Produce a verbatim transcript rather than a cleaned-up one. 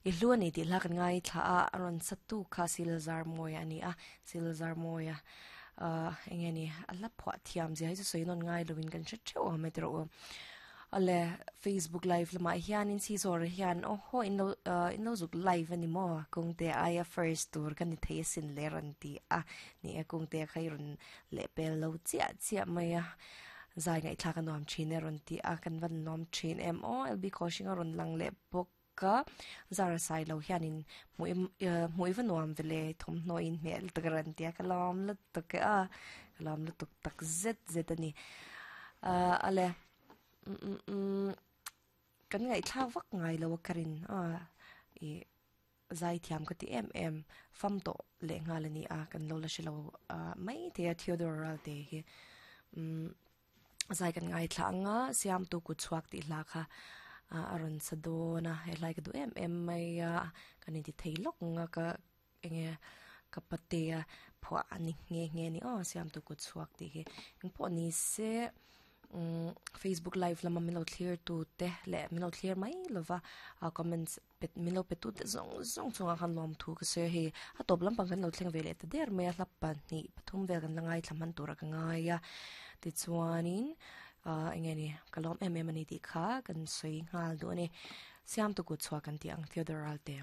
I hlu ani tih hla kan ngai thla a a rawn satu kha silzar mawi ani a silzar mawi a ah eng nge ni a hla phuah thiam zia hi chu sawi nawn ngai lovin kan hre theuh ang mai te rawh u ale Facebook live lamah hianin si zawr hian aw haw in lo ah in lo zuk live ani maw kawngte aia first tur ka ni thei asin le rawn ti a ni e kawngte kha i rawn leh pel lo chiah chiah mai a zai ngaihthlak a nuam thin e rawn ti a kan van nuam thin em aw L B Kaushing a rawn lang leh bawk a zara sai lo hianin hmuh hmuh i va nuam vele thawmhnaw in hmel tak a rawn ti a ka lawm lutuk e a ka lawm lutuk tak zet zet ani ah ale kan ngaihthlak vak ngai lo a ka rin a i zai thiam ka ti em em fam tawh leh nghal ani a kan lo la hre lo mai thei a Theodore Ralte hi umm zai kan ngaithla anga siam tu kut chhuak tih hla kha a rawn sa dawn a he hlai ka duh em em mai a kan inti thei lawk anga ka enge ka pate a phuah ani nghe nghe ni aw siam tu kut chhuak tih hi engpawh ni se umm Facebook live lama min lo thlir tu te leh min lo thlir mai lova a comments pet min lo pe tu te zawng zawng chungah khan lawm thu ka sawi a hei a tawp lampang kan lo thleng ve leh ta der mai a hla pahnih pathum vel kan la ngaithla hman tura ka ngai a tichuanin ah eng nge ni ka lawm em em ani tih kha kan sawi nghal duh a ni siam tu kut chhuak kan tih ang Theodore Ralte.